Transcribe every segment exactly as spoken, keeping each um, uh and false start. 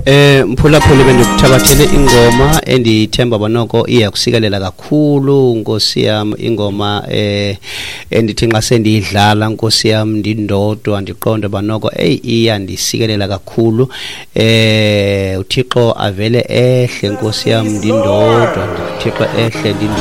Eh mphulaphuli, bendikuthabathele ingoma endithemba banoko iyakusikelela kakhulu, Nkosi yam. Ingoma eh endithi nxa sendiyidlala, Nkosi yam, ndindodwa, ndiqonde banoko eyi iyandisikelela kakhulu. eh uThixo avele ehle, Nkosi yam, ndindodwa, uThixo ehle ndind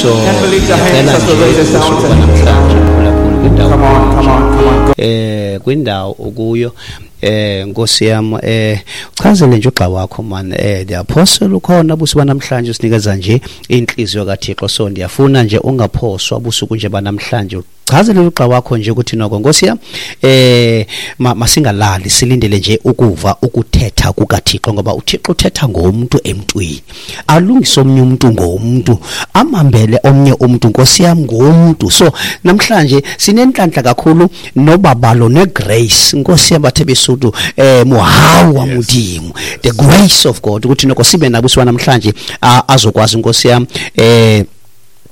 so ndicela nje usuku namhlanje, mphulaphuli, kwindawo Come on, come on, come on. Go. eh kwindawo okuyo, eh Nkosi yam, eh uchazele nje ugxa wakho man, eh the apostle ukhona busuku namhlanje, usinikeza nje inhliziyo kaThixo. So ndiyafuna nje ungaphoswa busuku nje banamhlanje, uchazele ugxa wakho nje ukuthi noko, Nkosi yam, eh ma, masingalali, silindele nje ukuva ukuthetha kukaThixo, ngoba uThixo uthetha ngomuntu emntwini, alungise omnye umuntu ngomuntu, amambele omnye umuntu, Nkosi yam, ngomuntu. So namhlanje sinenhlanhla kakhulu nobabalo negrace, Nkosi yam, bathe besuthu eh muhawu wa Modimo, the grace of God, ukuthi noko sibe nabo siwa namhlanje, azokwazi, Nkosi yam, eh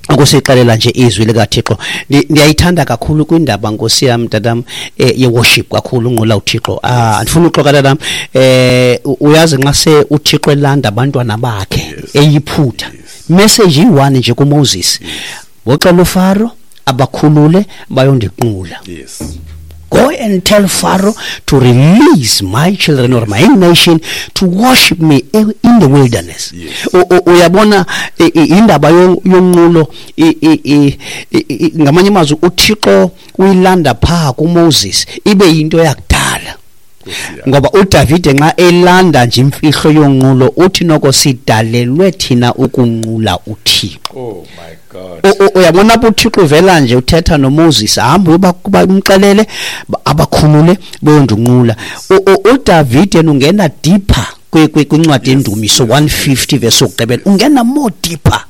ukusixelela nje izwi likaThixo. Ndiyayithanda kakhulu kwindaba, Nkosi yam, tatam, eh, ye-worship kakhulu, unqula uThixo. Ah, andifuna uxoka, tatam. eh uyazi nxa se uThixo elanda abantwana bakhe eyiphutha, message iyi-one nje kuMoses, woxela uFaro abakhulule bayondiqula. Yes. Go and tell Pharaoh to release my children or my nation to worship me in the wilderness. Yes. Uyabona indaba yonqulo, ngamanye amazwi uThixo uyilanda pha kuMoses ibe yinto yakudala. Ngoba uDavide nxa elanda nje imfihlo yonqulo uthi noko sidalelwe thina ukunqula uThixo. Oh my God. Uyabona apho uThixo uvela nje uthetha noMoses, hamba uba umxelele abakhulule bayondunqula. uDavide ungena deeper kwincwadi yeNdumiso one fifty verse yokugqibela, ungena more deeper.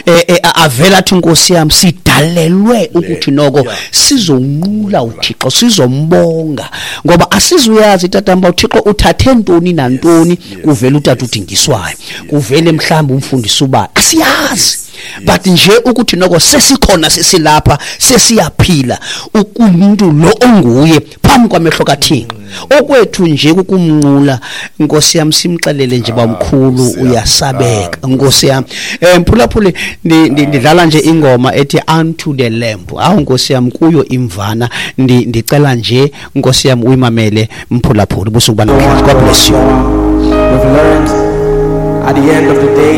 Eh avela athi, Nkosi yami, sidalelwe ukuthi noko sizonqula uThixo, sizombonga, ngoba asizuyazi tatamba uThixo uthathe ntoni nantoni. Kuvela utata udingiswayo, kuvele mhlawumbe umfundisi uba asiyazi, but nje ukuthi noko sesikhona, sesilapha, sesiyaphila umuntu lo onguye phambi kwamehlo kaThixo. Okwethu nje kukumnqula, Nkosi yami, simxelele nje bamkhulu uyasabeka, Nkosi yami. Eh mphulaphuli, ndidlala nje ingoma ethi Unto the Lamb. Awu Nkosi yami, kuyo imvana. Ndicela nje, Nkosi yami, uyimamele mphulaphuli busuku banamhlanje. God bless you. We've learned at the end of the day